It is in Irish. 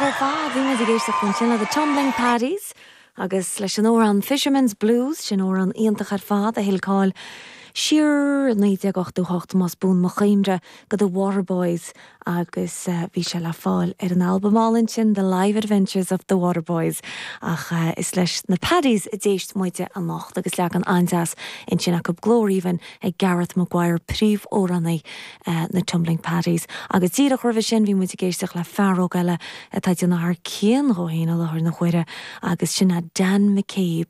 ar fad. Bhí muid ag éisteacht ansin le The Tumbling Paddies agus leis an amhrán Fisherman's Blues, sin amhrán iontach ar fad a thuill cáil siar i 1988 más buan mo chuimhne go The Waterboys agus bhí sé le fáil ar an albam álainn sin The Live Adventures of The Waterboys ach is leis na Paddies a d'éist muide anocht agus leagan an-deas ansin acu glór aoibhinn ag Gareth Maguire, príomhamhránaí na Tumbling Paddies. Agus díreach roimhe sin bhí muid ag éisteacht le fear óg eile atá ag déanamh thar cionn dhó féin i láthair na huaire agus sin é Dan McCabe.